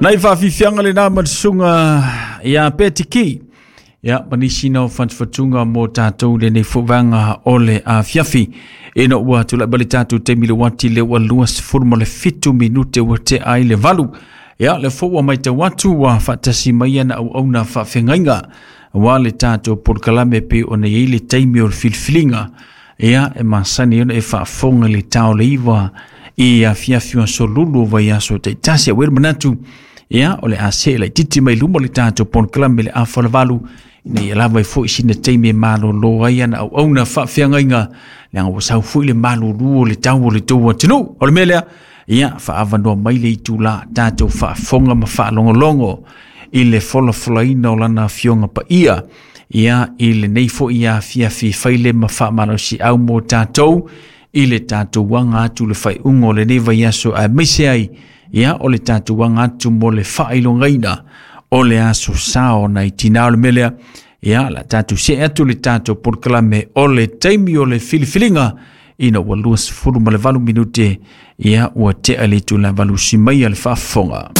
Nai faafiafiaga lenā ma le susuga ia Petiki. Ia, ma nisi na o fatufatuga mo tatou lenei foi vaega o le afiafi. Ina ua tulai mai le tatou taimi le uati le ua 27 minute ua tea ai le 8. Ia, le foi ua matau atu ua faatasi mai ana auauna faafeagaiga aua le tatou polokalame pei ona i ai le taimi o le filifiliga. Ia, e masani ona e faafofoga i le tao le 9 i afiafi o aso lulu o vaiaso taitasi. Ua i ai le manatu, ia, o le a see laitiiti mai luma le tatou polokalame le 7:30 ina ia lava ai foi sina taimi e malolo ai ana auauna faafeagaiga, leaga ua sau foi le malulu o le tau o le tou atunuu. O le mea lea, ia, faaavanoa mai le itula tatou faafofoga ma faalogologo i le folafolaina o lana afioga paia, ia, i lenei foi afiafi faile ma faamalosiau mo tatou i le tatou aga atu le faaiuga o lenei vaiaso, aemaise ai, ia, o le tatou aga atu mo le faailogaina o le aso sa o nai tinā. O le mea lea, ia, la tatou see atu le tatou polokalame o le taimi o le filifiliga ina ua 28 minute, ia, ua tea le itula valusi mai a le faafofoga.